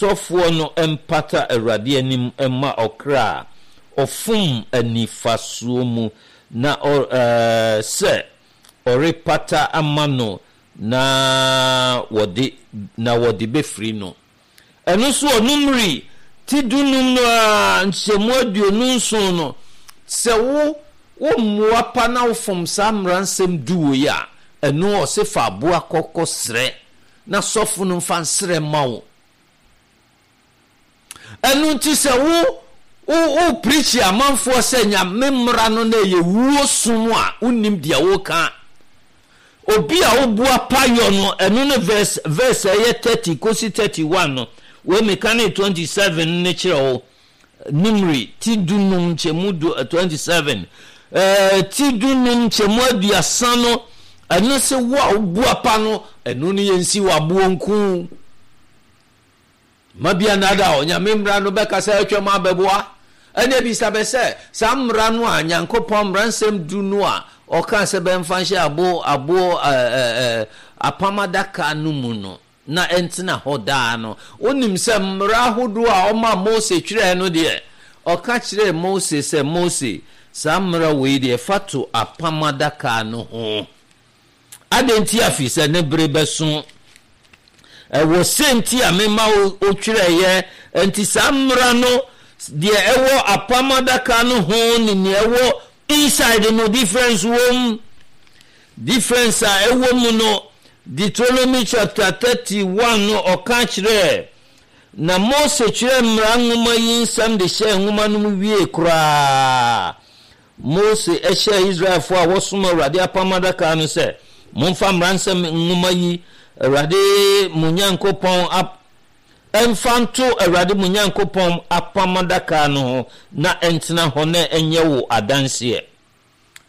Sɔfoɔ no mpata Awurade anim mma ɔkra a ɔfom anifasoɔ mu, na ɔ, sɛ ɔrepata ama no na wɔde, na wɔde bɛfiri no. Ɛno nso wɔ Numeri ti dunum no ara nkyɛmu 27 no, sɛ wo, wo mmoa pa na wofom saa mmara nsɛm du wei a, ɛno ɔse fa aboa kɔ kɔsrɛ na sɔfo no mfa nsrɛ mma wo. Ɛno nti sɛ wo wo wo preachi amanfoɔ sɛ Nyame mmara no na ɛyɛ wuo som a, wonnim deɛ woka. Obi a woboa payɔ no, ɛno ne verse verse a ɛyɛ 30 kosi 31 no, wei meka ne 27 no kyerɛ wo. Numeri ti dunum nkyɛmu du 27 ɛɛ ti dunum nkyɛmu 30 no, ɛno se wo a woboa pa no, ɛno ne yɛnsi wɔ aboɔ nku. Mma bi annaadaa wo, Nyame mmara no bɛka sɛ atwam abɛboa. Ɛnneɛ bisa bɛ sɛ, saa mmara no a Nyankopɔn, mmaransɛm du no a ɔkaa sɛ bɛmfa nhyɛ abo aboɔ ɛ ɛ apam adaka no mu no, na ɛntena hɔ daa no, wonim sɛ mmara ahodoɔ a ɔmaa Mose twerɛɛ no deɛ, ɔka kyerɛɛ Mose sɛ, Mose, saa mmara wei deɛ, fa to apam adaka no ho. Adɛn nti a? Firi sɛ ne bere bɛso. Ɛwɔ sɛ nti a mema wotwerɛeɛ. Enti saa mmara no, deɛ ɛwɔ apam adaka no ho ne nea ɛwɔ inside no, difference wɔ mu. Difference a ɛwɔ mu no, Deuteronomy chapter 31 no, ɔka kyerɛɛ, na Mose twerɛɛ mmara nwoma yi nsɛm de hyɛɛ nwoma no mu wiee koraa. Mose hyɛɛ Israelfoɔ a wɔsom Awurade apam adaka no sɛ, Momfa mmaransɛm nwoma yi, Awurade mo Nyankopɔn ap mfa nto Awurade mo Nyankopɔn apam adaka no ho na ɛntena hɔ na ɛnyɛ wo adanseɛ.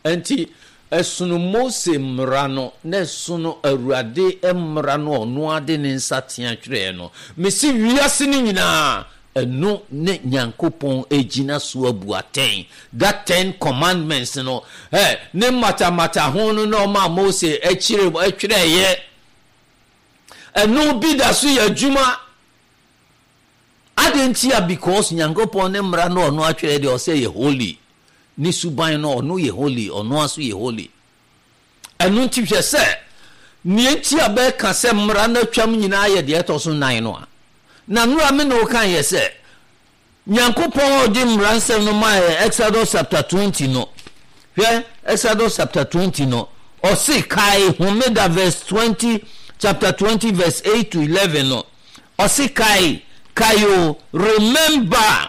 Enti, ɛsono Mose mmara no na ɛsono Awurade mmara no a ɔno ara de ne nsateaa twerɛeɛ no. Mese wiase no nyinaa, Ɛno ne Nyankopɔn gyina so abu atɛn. That ten commandments no, ɛ, ne mmatamata ho no na ɔmaa Mose kyerɛ, twerɛeɛ. Ɛno bi da so yɛ adwuma. Adɛn ntia? Because Nyankopɔn ne mmara no ɔno atwerɛ deɛ ɔsɛ yɛ holy. Ne suban no ɔno yɛ holy, ɔno ara nso yɛ holy. Ɛno nti hwɛ sɛ nea enti a bɛka sɛ mmara no atwam nyinaa yɛ deɛ ɛtɔ so nnan no a. Na nnora me ne wo kaeɛ sɛ, Nyankopɔn a ɔde mmara nsɛm no maa yɛn Exodus chapter 20 no, hwɛ Exodus chapter 20 no, ɔse kae homeda verse 20, chapter 20 verse 8 to 11 no, ɔse kae, kae o, remember.